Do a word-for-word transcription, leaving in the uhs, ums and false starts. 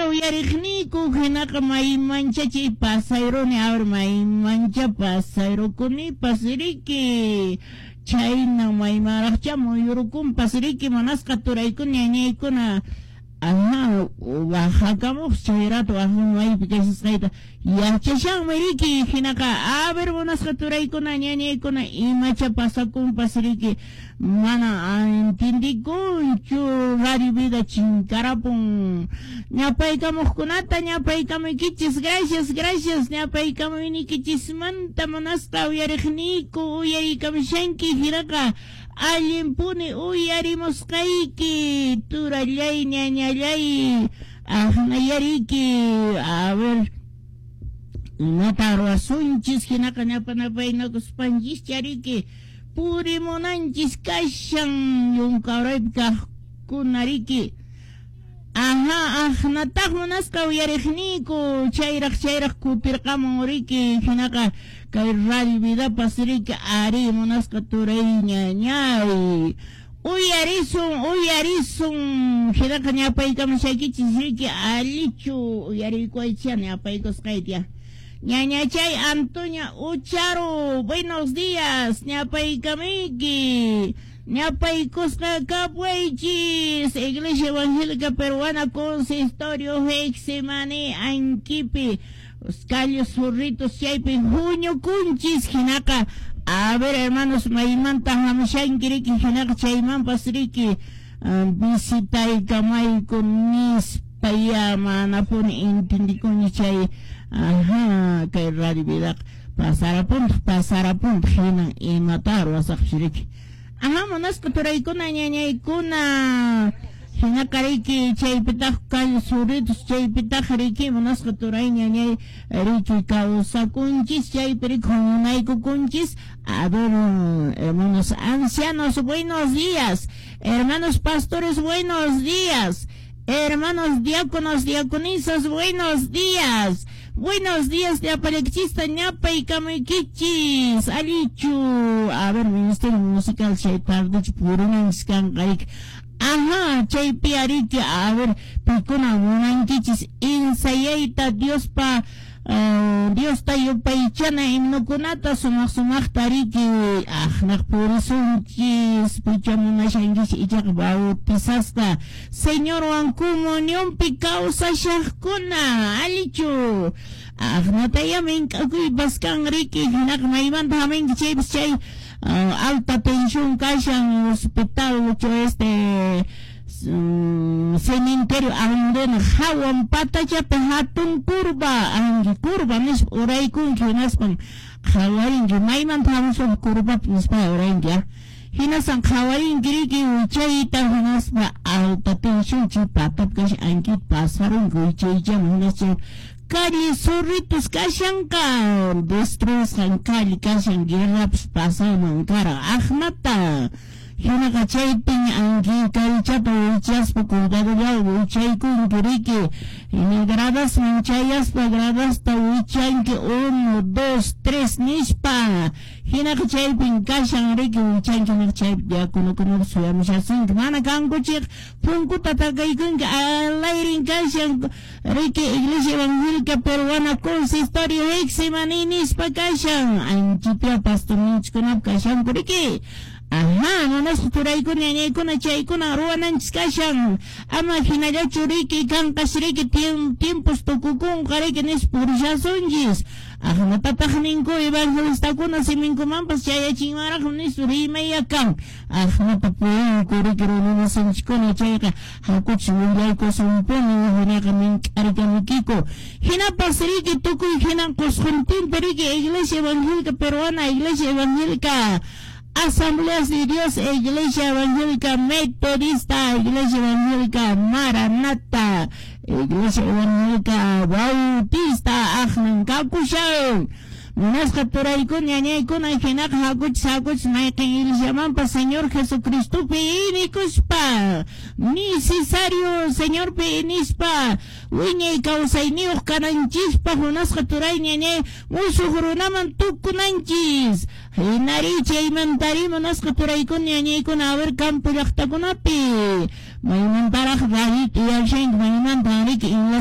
Munasqa uyariqniyku hinaqa maymancha chay pasayruni, a ver, maymancha pasayrukunipas riki, chayna maymanraqcha muyurukunpas riki, munasqa turaykuna ñañaykuna. Ajá, wajakamuq chay rato maypi kashasqayta yachashanmi riki, hinaqa a ver, munasqa turaykuna ñañaykuna, imacha pasakunpas riki, mana entendikunchu, Radio Vida chinkarapun. Ñapaykamuqkunata ñapaykamuykichis, gracias, gracias, ñapaykamuynikichismanta, munasqa uyariqniyku, uyarikamushanki hinaqa allinpuni uyarimusqayki, turallay, ñañallay, aqnayariki. A ver, imata ruwasunchis hinaqa ñapanapaynakuspanchis chariki purimunanchis kashan yunkaraypi kaqkuna riki. Ajá, aqnataq munasqa uyariqniyku, chayraq chayraq kutirqamun riki, hinaqa kay Radio Vidapas riki, ari munasqa turay ñañay, uyarisun, uyarisun, hinaqa ñapaykamushaykichis riki, allichu uyariykuaycha ñapaykusqayta. Ñañachay Antonia Ucharo, buenos días, ñapaykamiyki, ñapaykusqa kapwaychis, Iglesia Evangélica Peruana, Consistorio Getsemaní, Ankipi, Callos Zurritos, chaypi huñukunchis, hinaqa, a ver, hermanos, maymanta hamushanki riki, hinaqa chaymanpas riki, visitaykamayku nispa ya manapuni entendikuni chay. Ajá, kay Radio Vidaqa pasarapuntaq, pasarapuntaq, hinan imata ruwasaqpis riki. Ajá, munasqa turaykuna ñañaykuna, hinaqa riki chaypitaq calle Zurritos, chaypitaq riki munasqa turay ñañay riki kawsakunchis, chaypi riki huñunaykukunchis. A ver, hermanos ancianos, buenos días, hermanos pastores, buenos días, hermanos diáconos, diaconisas, buenos días. Buenos días, ñapalekchista, ñapaykamuykichis, allichu. A ver, ministerio musical, chay tardechu purunanchis kanqa riki. Ajá, chaypi ariki, a ver, pikuna munankichis ensayayta Diospa, uh, Diosta yupaychana himnokunata sumaq sumaqta riki, aqnaq purisunchis, picha munashankichis ichaqa bautizasqa Señorwan comunionpi kawsashaqkuna, allichu. Aqnataya mink'akuypas kan riki, hinaqa maymanta haminki chaypas chay uh, alta tensión kashan hospital este um, cementerio andena hawan patachapi hatun curva, anki curva nispa uraykunki, hinaspan qhawarinki maymanta hamusuq curvapi nispa urayinki, ah, hinasan qhawarinki riki wichayta, hinaspa alta tensión chay patapi kashan ankita pasarunki wichaychaman, hinas chay calle Zorritos kashanqa destruisqan calle kashan, guerrapas pasanman kara aqnata, hinaqa chaypiña anki kallchata wichaspa cuidadollawan wichaykunki riki, hina gradasman chayaspa gradasta wichanki uno, dos, tres nispa, hinaqa chaypin kashan riki wichanki, hinaqa chaypi diakonokunapas suyamushasunki, mana kankuchik punkuta takaykunki alayrin kashan riki Iglesia Evangélica Peruana Consistorio Getsemaní nispa kashan, anchipia pastorninchikkunapi kashanku riki. Ajá, munasqa turaykuna ñañaykuna chaykuna ruwananchis kashan, ama hinallachu riki kanqas riki tiempos tukukunqa riki nispa purishasunchis. Aqnatataq ninku evangelistakuna siminkumanpas chayachinmanraqmi nispa rimayakan, aqnata purinku riki runamasinchikkuna, chayqa hakuchis willaykusunpuni, hinaqa mink'arikamuykiku. Hinapas riki tukuy hinan qusquntinpi riki Iglesia Evangélica Peruana, Iglesia Evangélica Asambleas de Dios, Iglesia Evangélica Metodista, Iglesia Evangélica Maranata, Iglesia Evangélica Bautista, aqnan kakushan. Munasqa turaykuna ñañaykuna hinaqa hakuchis hakuchis mayqin iglesiamanpas Señor Jesucristopi inikuspa, necesario Señorpi inispa, wiñay kawsayniyuq kananchispaq munasqa turay ñañay musuq runaman tukunanchis. Hinari chaymantari munasqa turaykuna ñañaykuna, a ver, campo llaqtakunapi maymantaraq rayita uyashanki, maymanta riki.